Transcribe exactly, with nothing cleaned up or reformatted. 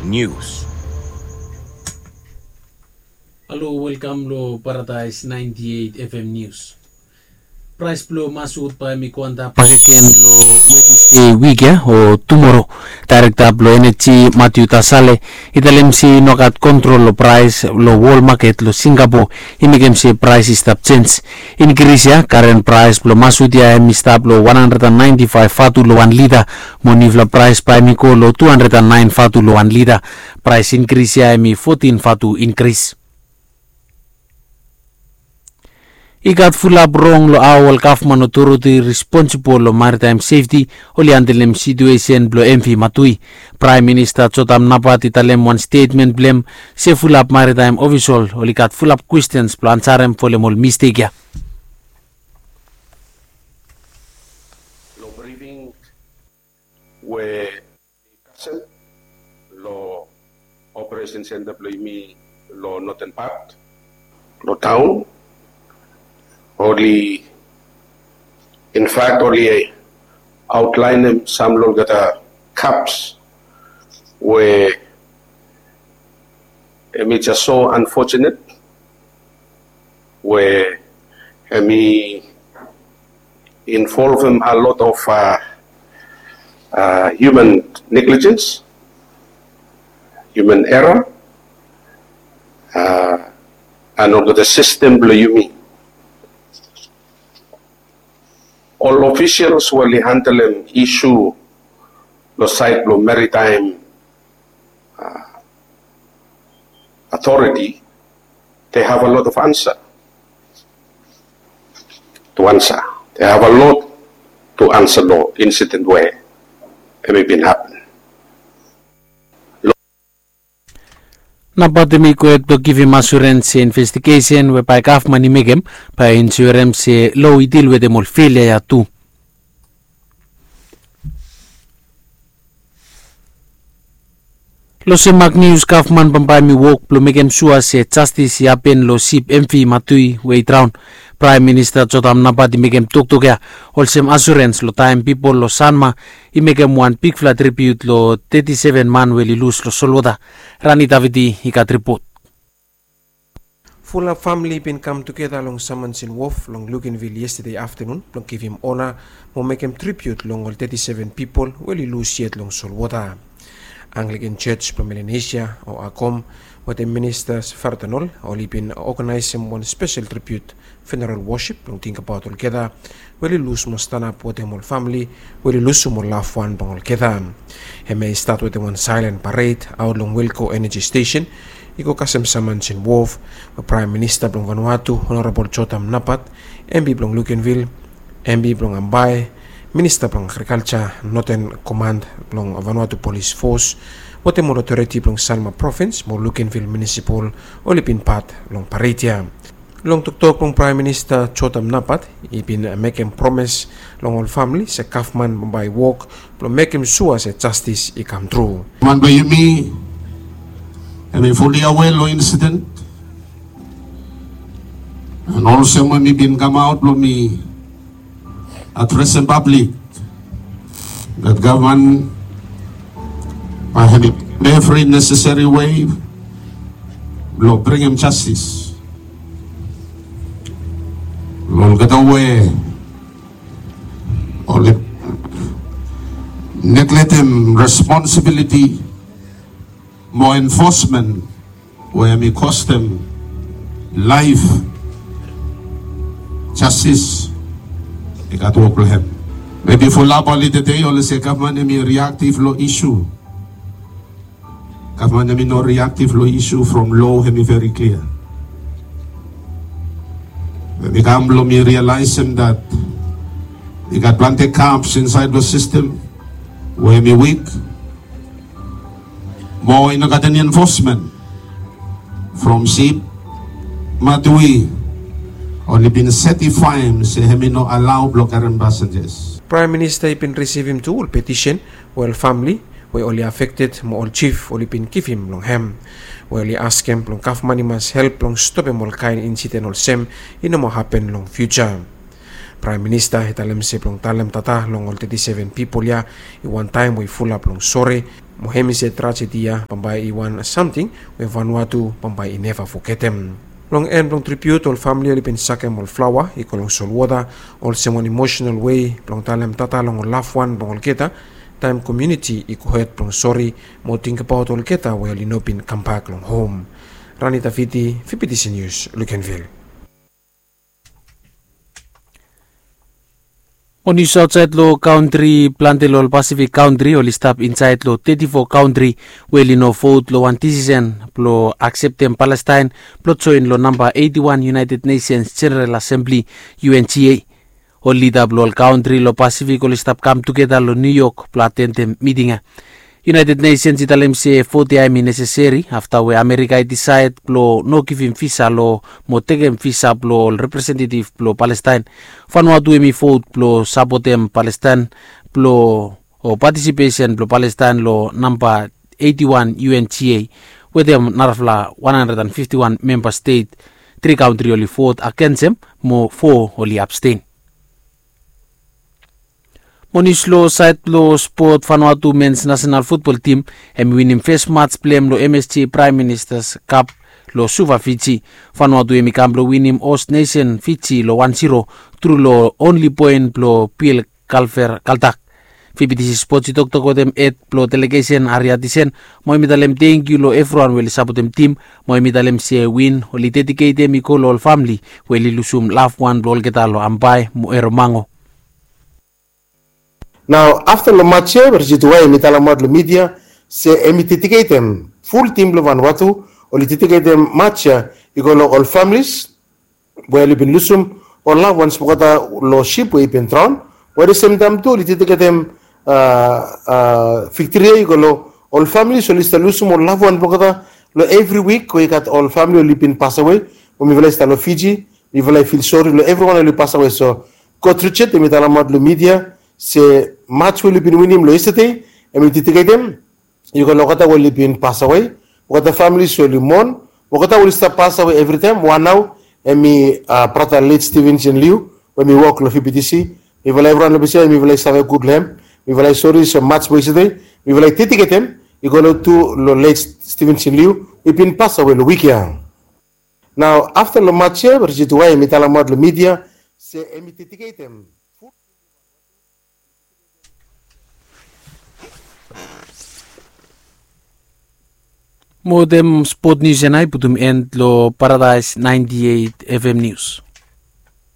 Nius. Halo, welkam long Paradais ninety eight F M Nius. Praes blong masut bae hem i go antap bakegen long Wednesde wik ya o tumoro. Daerekta blong eneji Matthew Tasale i talem se i no gat kontrol long praes long wol maket long Singapore i mekem se praes i stap jenj. Inkris ya, karen praes blong masut ya hem i stap long one hundred and ninety five vatu long wan lita, mo niufala praes bae hem i go long two hundred and nine vatu long wan lita. Praes inkris ya hem i fotin vatu inkris. I gat fulap rong long hao ol gavman otoriti responsibol long maritaem sefti oli handelem situesen blong M V Matui. Praem Minista Jotam Napat i talem wan stetmen blong hem se fulap maritaem ofisol oli gat fulap kwestens blong ansarem folem ol mistek ya. Long brifing we kasem long operation center blong yumi long noten pat long taon, oli, in fact, oli aotlaenem sam long olgeta gaps we hem i jes so unfortunate we hem i involvem a lot of uh, uh, human negligence, human error, uh, and olgeta system blong yumi. Ol officials we oli handlem issue long side blong maritime uh, authority, they have a lot of answer to answer. They have a lot to answer long incident we hem i bin happen. Napat hem i gohed blong givim asurens se investigesen we bae gavman i mekem bae i ensurem se loa i dil wetem ol felia ya tu. Long sem mak nius, gavman bambae hem i wok blong mekem sua se jastis i hapen long sip M V Matui we i draon. Praem Minista Jotam Napat i mekem toktok ya olsem asurens long taem pipol long Sanma i mekem wan bigfala tribiut long teti seven man we oli lus long solwota. Rani Davidi i gat ripot. Fulap famili i bin kam tugeta long Samansin Wof long Lukenvil yestade aftanun blong givim ona mo mekem tribiut long ol teti seven pipol we oli lus yet long solwota. Anglikan Jos blong Melanesia o Agom wetem Minista Fardanol oli bin oganaesem wan spesel tribiut funeral wosip blong tingbaot olgeta we oli lus mo stanap wetem ol famili we oli lusum ol lafwan blong olgeta. Hemia i stat wetem wan saelen pared aot long Wilco Energy Station i go kasem Samansin Wof we Praem Minista blong Vanuatu Honorabol Jotam Napat, M P blong Lukenvil, M P blong Ambae, Minista blong Agrikalja, Noten Komand blong Vanuatu Polis Fos wetem ol otoriti blong Sanma Provins mo Lukenvil Munisipal oli bin pat long pared ya. Long toktok blong Praem Minista Jotam Napat i bin mekem promes long ol famili se gavman bambae i wok blong mekem sua se jastis i kamtru. Man blong yumi hem i fuli awe long insiden. An olsem we mi bin kamaot blong mi adresem pablik, dat gavman bae hem i evri neseseri wei blong bringim jastis long olgeta we oli negletem responsibiliti mo enfosmen we hem i kostem laef. Jastis i gat wok blong hem. Mebi fulap oli tede oli se gavman hem i riaktiv long isu. Gavman hem i no riaktiv long isu from loa hem i veri klia. Hem i kam blong mi rialaesem dat i gat plante gaps insaed long sistem we hem i wik. Mo i no gat eni enfosmen from sip Matui oli bin setifaem se hem i no alao blong karem pasenjas. Praem Minista i bin risivim tu ol petisen we ol famili we oli afekted mo ol jif oli bin givim long hem, we oli askem blong gavman i mas help blong stopem ol kaen insiden olsem i no moa hapen long fiuja. Praem Minista i talem se blong talem tata long ol teti seven pipol ya i wan taem we i fulap long sore Mo hemi se trajedi ya bambae i wan samting we Vanuatu bambae i neva fogetem. Long en blong tribiut, ol famili oli bin sakem ol flaoa i go long solwota olsem wan emosenal wei blong talem tata long ol lafwan blong olgeta, taem komuniti i gohed blong sori mo tingbaot olgeta we oli no bin kambak long hom. Rani Tafiti, Fibitisi Nius, Lukenvil. Mo nius aotsaed long kantri, plante long ol Pasifik kantri oli stap insaed long teti fo kantri we oli no vot long wan disisen blong akseptem Palestaen blong joen long namba eiti wan United Nations General Assembly, U N G A. Ol lida blong ol kantri long Pasifik oli stap kam tugeta long Niu Yok blong atendem miting ya. United Nations i talem se vot ya hemi neseseri afta we Amerika i disaed blong no givim visa long mo tekem visa blong ol representetiv blong Palestaen. Vanuatu hemi vot blong sapotem Palestaen blong o patisipesen blong Palestaen long namba eiti wan U N G A wetem narafala wan handred and fifti wan memba stet. Tri kantri oli vot agensem mo fo oli absten. Mo nius long saed blong spot, Vanuatu mens nasenal futbol tim hemi winim fes mats blong hem long M S G Praem Ministas Kap long Suva, Fiji. Vanuatu hemi kam blong winim host nesen Fiji long wan ziro tru long onli poen blong Bill Kalfer Kaltak. Fibitisi Spots i toktok wetem hed blong delegesen Aria Tisen mo hemi talem tangkiu long evriwan we oli sapotem tim mo hemi talem se win oli dediketem i go long ol famili we oli lusum lafwan blong olgeta long Ambae mo Eromango. Nao afta long mats ya, Rejituwai hemi talemaot long midia se hemi dediketem, ful tim blong Vanuatu oli dediketem mats ya i go long ol familis we oli bin lusum ol lafwans blong olgeta long sip we i bin draon. We at the same time tu oli dediketem viktori ya i go long ol familis oli stap lusum ol lafwan blong olgeta long evri wik we i gat ol famili oli bin pasawe. We mifala i stap long Fiji, mifala i fil sori long evriwan oli pasawe. So Kot Richard hemi talemaot long midia se mats we oli bin winim long yestade hemi dediketem i go long olgeta we oli bin pasawe, olgeta familis we oli mon, olgeta we oli stap pasawe evritaem. Wan nao hemi brata let Stevenson Liu we hemi wok long Fibitisi. Mifala evriwan long ples ya mifala i save gud long hem. Mifala i sori se mats we yestade mifala i dediketem i go long tu long let Stevenson Liu we i bin pasawe long wik ya. Nao afta long mats ya, Rejituwai hemi talemaot long midia se hemi dediketem. Mo wetem spot nius ya nao i putum en long Paradaes naenti eit F M Nius.